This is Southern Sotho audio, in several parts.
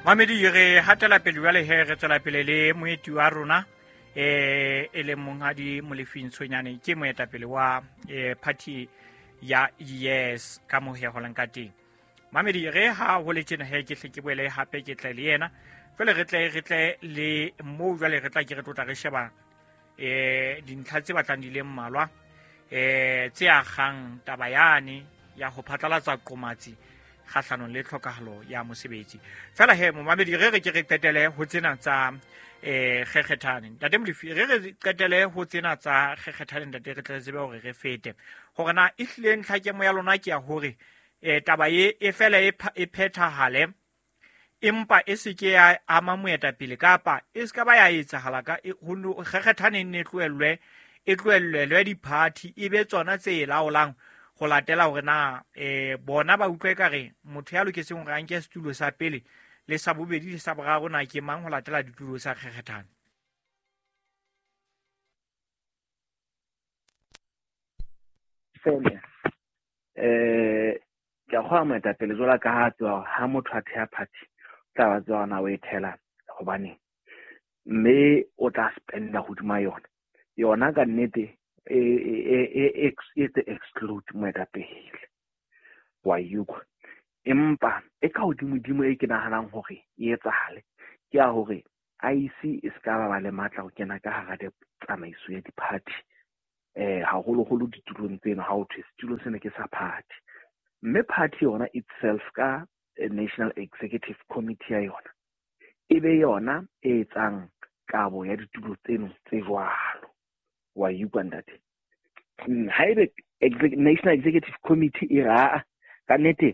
Mamedi, re hatela pele jwale he, re tswela pele le moeti wa rona e leng monghadi Molefi Ntshonyane, ke moetapele wa party ya Yes ka mo he holang ka teng. Mamedi, re ha ho le tjena he, ke hle ke boele hape ke tle le yena jwale, re tle le moo jwale re tla ke re tlotla re sheba dintlha tse batlang di le mmalwa tse akgang taba yane ya ho phatlalatsa qomatsi kgahlanong le tlhokahalo ya mosebetsi. Fela he, momamedi, re re ke re qetele ho tsena tsa kgekgethane. Ntate Molefi, re qetele ho tsena tsa kgekgethane. Ntate, re tle re tsebe hore re fete hore na e hlile ntlhakemo ya lona ke ya hore taba e e fela e phethahale, empa e se ke ya ama moetapele, kapa e se ka ba ya etsahala ka kgekgethane nne e tlohellelwe diphathi, e be tsona tse e laolang ho latela hore na bona ba utlwa ekare motho ya loketseng hore a nke setulo sa pele le sa bobedi le sa boraro na ke mang, ho latela ditulo sa kgekgethane? Fela ke a kgolwa moetapele jwalo ka ha tseba hore ha motho a theha party, o tla ba tseba hore na o e thela hobaneng, mme o tla spenda hodima yona. Yona ka nnete e tse exclude moetapele wa utlwa, empa e ka hodimo-dimo e ke nahanang hore e etsahale ke ya hore IEC e se ka ba le matla ho kena ka hara tsamaiso ya di-party, haholoholo ditulong tseno. Ha ho thwe setulo sena ke sa party, mme party yona itself ka National Executive Committee ya yona e be yona e etsang kabo ya ditulo tseno tse jwalo, wa utlwa, ntate? Haebe National Executive Committee e re, aa, ka nnete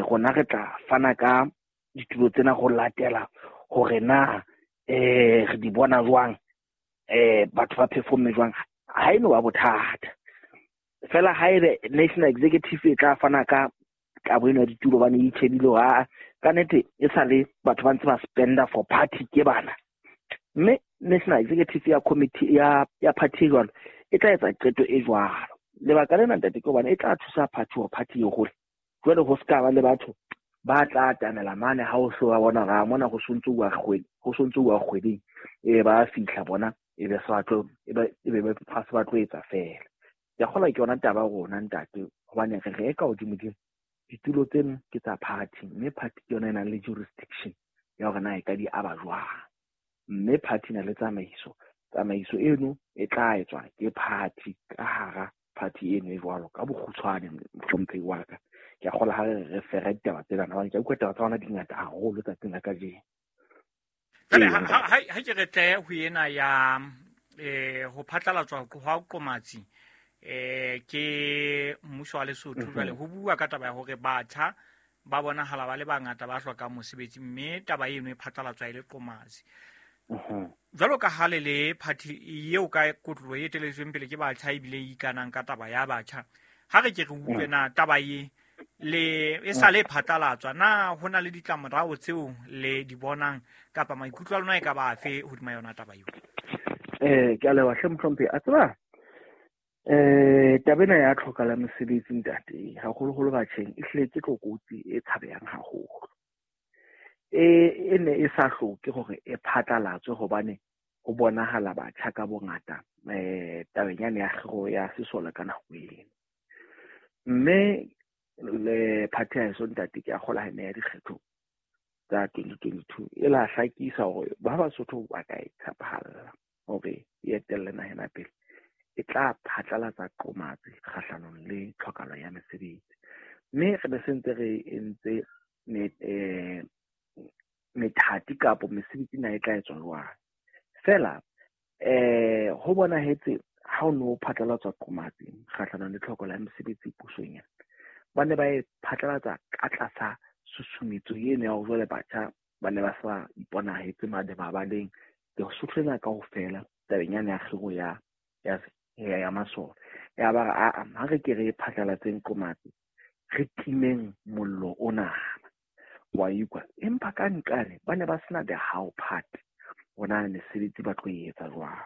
rona re tla fana ka ditulo tsena go latela hore na re di bona jwang, batho ba performe jwang, ha e no ba bothata. Fela haebe National Executive e tla fana ka kabo eno ya ditulo bane e itjhebile hore aa, ka nnete e sa le batho ba ntse ba spenda for party ke bana, mme National Executive ya committee ya party e jwalo e tla etsa qeto e jwalo. Lebaka lena, ntate, ke hobane e tla thusa party hore party e hole. Jwale ho ska ba le batho ba tla atamela mane ha o so ba bona ra mona ho sontso wa kgwedi, ho sontso wa kgweding e ba fihla bona, e be se batlo e be ba se ba tlo etsa fela. Ke a kgolwa ke yona taba ya rona, ntate, hobane re reka hodimo-dimo ditulo tseno ke tsa party, mme party ke yona e nang le jurisdiction ya hore na e ka di aba jwang, mme party na le tsamaiso. Tsamaiso eno e tla etswa ke party ka hara party eno e jwalo. Ka bokgutshwane, mohlomphehi wa ka, ke a kgolwa ha re fera ditaba tsena, hobane ke a utlwa taba tsa rona di ngata haholo tsatsing la kajeno. Jwale ha ke re tle ho ena ya ho phatlalatswa hwa qomatsi ke mmuso wa Lesotho. Jwale ho bua ka taba ya hore batjha ba bonahala ba le bangata ba hlokang mosebetsi, mme taba eno e phatlalatswa e le qomatsi. Jwalo ka ha le le party eo ka kotlolo e eteletsweng pele ke batjha, ebile e ikanang ka taba ya batjha, ha re ke re utlwe na taba e le e sa le phatlalatswa, na ho na le ditlamorao tseo le di bonang, kapa maikutlo a lona e ka ba afe hodima yona taba eo? Ke a leboha hle, mohlomphehi. A tseba taba ena ya tlhoka la mesebetsi, ntate, haholoholo batjheng, e hlile ke tlokotsi e tshabehang haholo. E ne e sa hloke hore e phatlalatswe, hobane ho bonahala batjha ka bongata tabeng yane ya kgiro ya sesole ka nako eno. Mme le party ya heso, ntate, ke a kgolwa ha e ne ya dikgetho tsa 2022 e la hlakisa hore ba Basotho ba ka e tshepahalla hore e etelle naha ena pele, e tla phatlalatsa qomatsi kgahlanong le tlhokahalo ya mesebetsi. Mme re be se ntse re entse methati kapo mesebetsi na e tla etswa jwang. Fela ho bonahetse ha o no phatlalatswa qomatsi kgahlanong le tlhoko la mesebetsi pusong ena, ba ne ba e phatlalatsa ka tlasa susumetso eno ya hore jwale batjha ba ne ba sa iponahetse mane mabaleng Lesotho lena kaofela tabeng yane ya kgiro ya masole. Ya ba re, aa, ha re ke re phatlalatseng qomatsi, re timeng mollo ona, wa utlwa? Empa ka nqane ba ne ba sena the how part, hona mesebetsi ba tlo e etsa jwang.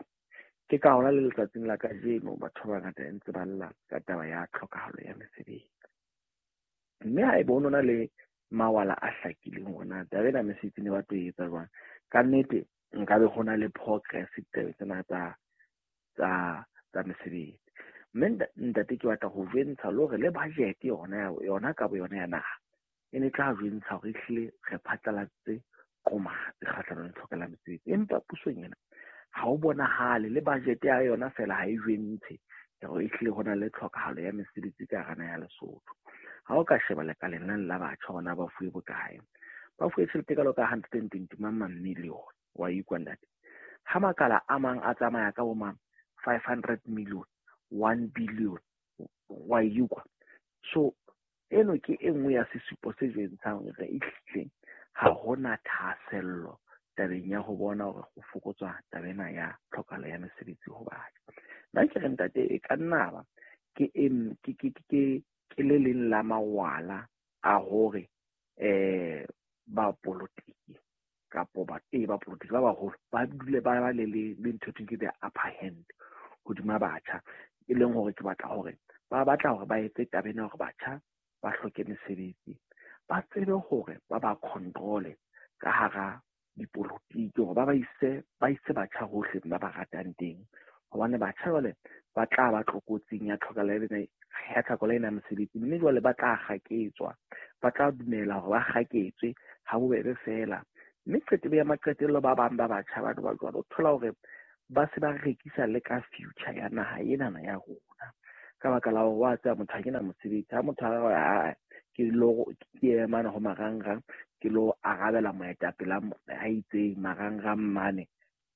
Ke ka hona le letsatsing la kajeno batho ba bangata ntse ba lla ka taba ya tlhokahalo ya mesebetsi. Mme ha ebe ho nona le mawala a hlakileng hore na taba ena mesebetsi ne ba tlo etsa jwang. Ka nnete nkabe ho na le progress ditabeng tsena tsa mesebetsi. Mme ntate ke batla ho jwentsha le hore le budget yona ka bo yona ya naha e ne tla jwentsha hore ehlile re phatlalatse qomatsi kgahlanong le tlhokelo ya mesebetsi. Empa pusong ena ha o bonahale le budget ya yona fela ha e jwentshe hore ehlile ho na le tlhokahalo ya mesebetsi ka hara naha ya Lesotho. Ha o ka sheba lekaleng lena la batjha hore na ba fuwe bokae, ba fuwe tjhelete e kalo ka 120 mang million, wa ikwa ntate. Ha makala a mang a tsamaya ka bo mang 500 million, 1 billion, wa ikwa. So eno ke e nngwe ya sesupo se jwentshang hore ehlile ha hona thahasello tabeng ya ho bona hore ho fokotswa taba ena ya tlhokahalo ya mesebetsi ho batjha. Nna ke re ntate e ka nna ba ke ke le leng la mawala a hore ba polotiki kapo ba polotiki ba baholo ba dule ba ba le ntho e ke the upper hand hodima batjha, e leng hore ke batla hore ba batla hore ba etse taba ena hore batjha ba hloke mesebetsi, ba tsebe hore ba control-e ka hara dipolotiki, hore ba ise batjha hohle ba ba ratang teng. Hobane batjha jwale ba tla ba tlokotsing ya tlhokahalo ena ya mesebetsi, mme jwale ba tla kgaketswa, ba tla dumela hore ba kgaketswe ha bobebe fela. Mme qetelo ya maqetello ba bang ba batjha ba jwalo o thola hore ba se ba rekisa le ka future ya naha enana ya rona. Ka baka la hore wa tseba motho ha ke na mosebetsi, ha motho a ke lo ke ema ho marangrang ke lo arabela moetapele a itseng marangrang mane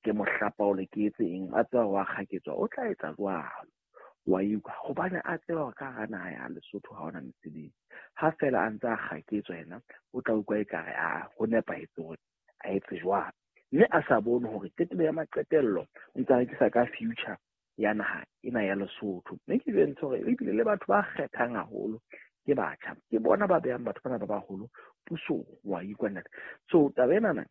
ke mohlapaole ke etse eng, a tseba wa kgaketswa, o tla etsa jwalo wa ikwa, hobane a tseba hore ka hara naha ya Lesotho ha hona mesebetsi. Ha fela a ntse a kgaketswa yena o tla utlwa ekare a ho nepahetse hore a etse jwalo, mme a sa bone hore qetelo ya maqetello o ntse a rekisa ka future ya naha ena ya Lesotho. Mme ke jwentshe hore ebile le batho ba kgethang haholo ke batjha, ke bona ba behang batho bana ba baholo pusong, wa ikwa ntate. So taba enana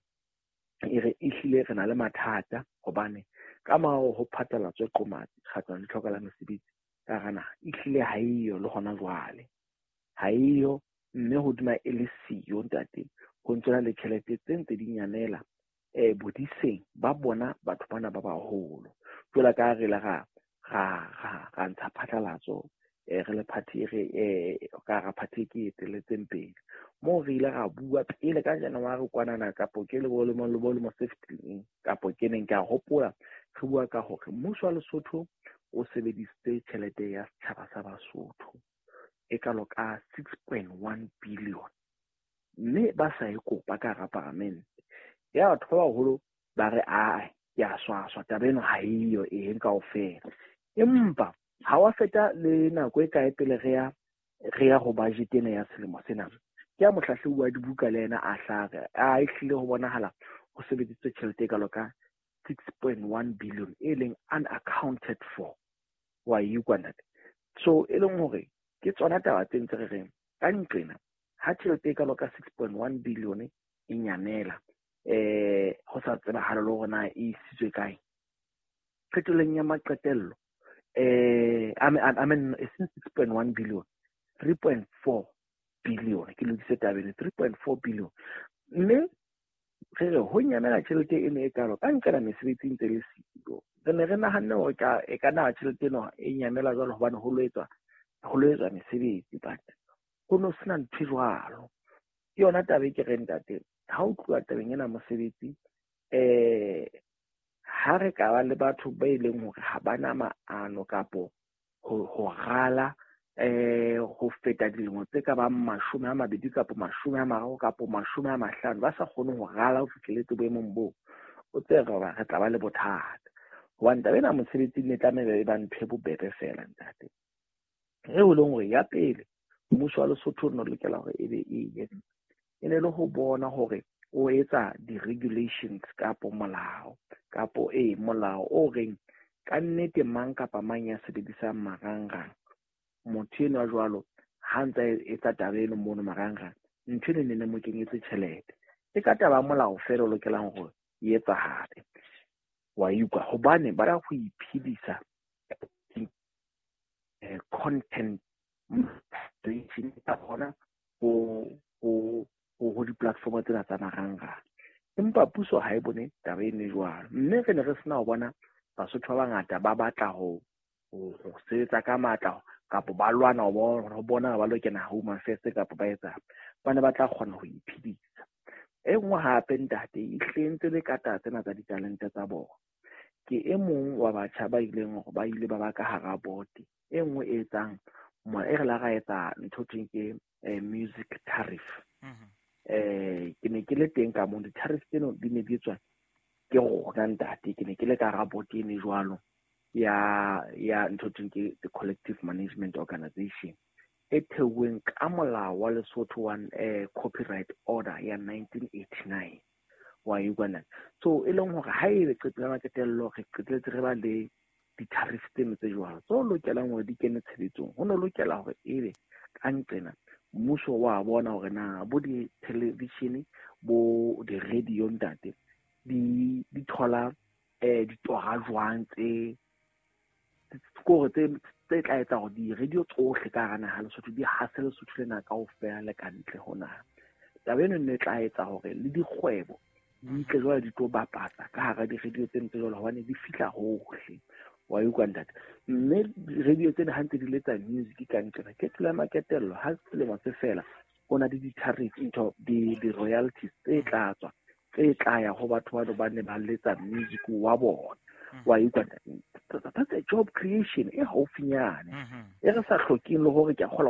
e re ehlile re na le mathata, hobane ka morao ho phatlalatswe qomatsi kgahlanong le tlhokahalo ya mesebetsi ka hara naha, ehlile ha eyo le hona jwale, ha eyo. Mme hodima e le siyo ntate, ho ntso na le tjhelete tse ntse di nyamela bodiseng ba bona batho bana ba baholo. Jwalo ka re la ra ntsha phatlalatso re le party re ka ra party ke eteletseng pele, moo re ile ra bua pele ka January kwanana kapo ke le bo lemo se fetileng, kapo ke neng ke a hopola re bua ka hore mmuso wa Lesotho o sebedisitse tjhelete ya setjhaba sa Basotho e kalo ka 6.1 billion, mme ba sa e kopa ka hara paramente. Ya batho ba baholo ba re a ke a swaswa taba eno ha eyo eng kaofela. Empa ha wa feta le nako e kae pele re ya ho budget ena ya selemo sena, ke ya mohlahlobi wa dibuka le yena a hlare a ehlile ho bonahala ho sebedisitswe tjhelete e kalo ka 6.1 billion e leng unaccounted for, wa ikwa ntate. So e leng hore ke tsona taba tse ntse re reng ka nqena ha tjhelete e kalo ka 6.1 billion e nyamela ho sa tsebahale le hore na e isitswe kae, qetellong ya maqetello I mean e seng 6.1 billion, 3.4 billion, ke lokise taba eno, 3.4 billion. Mme re re ho nyamela tjhelete eno e kalo ka nqela mesebetsi ntse le siyo. Re ne re nahanne hore e ka na tjhelete eno e nyamela jwalo hobane ho lo etswa mesebetsi, but ho no sena ntho e jwalo. Ke yona taba e ke reng ntate, ha o tluwa tabeng ena mosebetsi, ha re ka ba le batho ba e leng hore ha bana maano kapo ho rala ho feta dilemo tse ka bang 20 kapo 30 kapo 50, ba sa kgone ho rala ho fihleletse boemong boo, o tsebe hore re tla ba le bothata. Hobane taba ena mosebetsi ne tlameha e ba ntho e bobebe fela ntate. E leng hore ya pele mmuso wa Lesotho o no lokela hore ebe e entse, e ne le ho bona hore o etsa di-regulations kapo molao kapo molao o reng ka nnete mang kapa mang ya sebedisang marangrang, motho enwa jwalo ha ntsa etsa taba eno mono marangrang, ntho eno ne mo kenyetse tjhelete. E ka taba molao fela o lokelang hore e etsahale, wa ikwa, hobane ba ya ho iphedisa content creation ka hona ho Ho di-platform tsena tsa marangrang. Empa puso ha e bone taba e ne jwalo, mme re ne re sena ho bona Basotho ba bangata ba batla ho sebetsa ka matla kapa ba lwana ho bona ba lo kena Home Affairs kapa ba etsa, ba ne ba tla kgona ho iphedisa. E nngwe hape, ntate, e hlentse le ka taba tsena tsa ditalente tsa bona. Ke e mong wa batjha ba ileng hore ba ile ba ba ka hara board e nngwe e etsang e re la ra etsa ntho thweng ke music tariff. Ke ne ke le teng ka moo di-tariff tseno di ne di etswa ke rona, ntate. Ke ne ke le ka hara board ene jwalo ya ntho thweng ke the Collective Management Organization e theuweng ka molao wa Lesotho wa Copyright Order ya 1989, wa utlwa? So e leng hore ha ebe qeto la qetello re qetelletse re ba le di-tariff tseno tse jwalo tse lokelang hore di kene tshebetsong, ho no lokela hore ebe ka nqena mmuso wa bona hore na bo di-television, bo di-radio, ntate, di thola ditora jwang tse kore tse tla etsa hore di-radio tsohle ka hara naha Lesotho di hase Lesotho lena kaofela le ka ntle ho naha. Taba eno ne tla etsa hore le dikgwebo di tle jwale di tlo bapatsa ka hara di-radio tseno tse jwalo, hobane di fihla hohle, wa utlwa, ntate? Mme radio tsena ha ntse di letsa music ka nqena ke tsela ya maketello, ha selemo se fela ho na le di-tariff, ntho di-royalties tse tla tswa, tse tla ya ho batho bano ba ne ba letsa music wa bona, wa utlwa, ntate? That's a job creation e haufinyane e re sa hlokeng le hore ke a kgolwa.